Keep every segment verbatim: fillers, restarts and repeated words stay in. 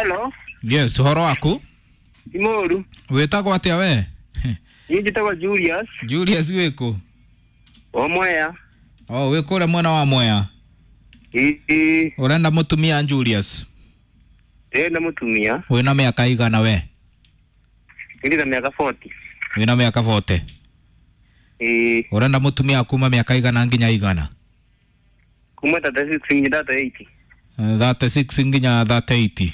Hello. Yes, ũhoro waku? Imoru. Wĩtagwo atĩa we? Niĩ njĩtagwo Julius. Julius wĩkũ? O Mwea. Oh, wĩ kũrĩa mwena wa Mwea. Ĩĩ. Ũrenda mũtumia Julius? Ndĩrenda mũtumia. Wĩna mĩaka igana we? Ndĩ na mĩaka forty. Wĩna mĩaka forty? Ĩĩ. Ũrenda mũtumia kuma mĩaka igana nginya igana? Kuma thirty-six nginya thirty-eight. thirty-six nginya thirty-eight.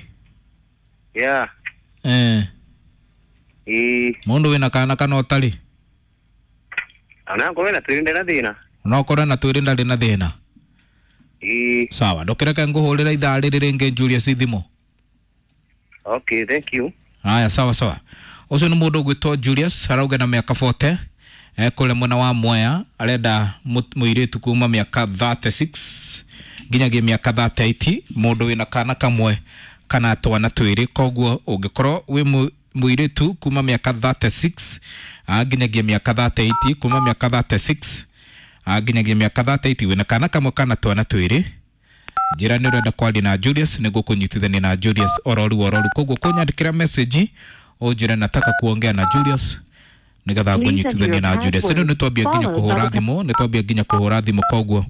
Yeah. Eh. Ĩĩ. Mũndũ wĩna kana kana ũtarĩ? Ona ngorwo na twĩrĩ ndarĩ na thĩna. No ũkorwo na twĩrĩ ndarĩ na thĩna. Ĩĩ. Sawa, ndũkĩreke ngũhũrĩra ithaa rĩrĩ rĩngĩ Julius thimũ. Okay, thank you. Haya, sawa sawa. Ũcio nĩ mũndũ ũgwĩtwo Julius, arauga na mĩaka forty, ekũrĩa mwena wa Mwea, arenda mũirĩtu kuma mĩaka thirty-six nginyagia mĩaka thirty-eight, mũndũ wĩna kana kamwe kana twana twĩrĩ. Koguo ũngĩkorwo wĩ mũirĩtu kuma mĩaka thirty-six nginyagia mĩaka thirty-eight, kuma mĩaka thirty-six nginyagia mĩaka thirty-eight, wĩna kana kamwe kana twana twĩrĩ, njĩra nĩ ũrenda kwaria na Julius, nĩguo kũnyitithania na Julius ororu ororu. Koguo kũnyandĩkĩra message ũnjĩre nataka kuongea na Julius nĩgetha ngũnyitithanie na Julius. Rĩu nĩtwambia nginya kũhũra thimũ, nĩtwambia nginya kũhũra thimũ, koguo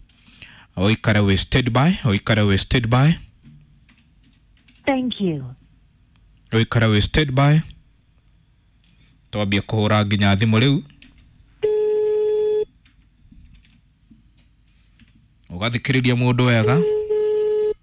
ũikare wĩ stand by, ũikare wĩ stand by. Thank you. Ũikare wĩ stand by, twambia kũhũra nginya thimũ rĩu. Ũgathikĩrĩria mũndũ wega.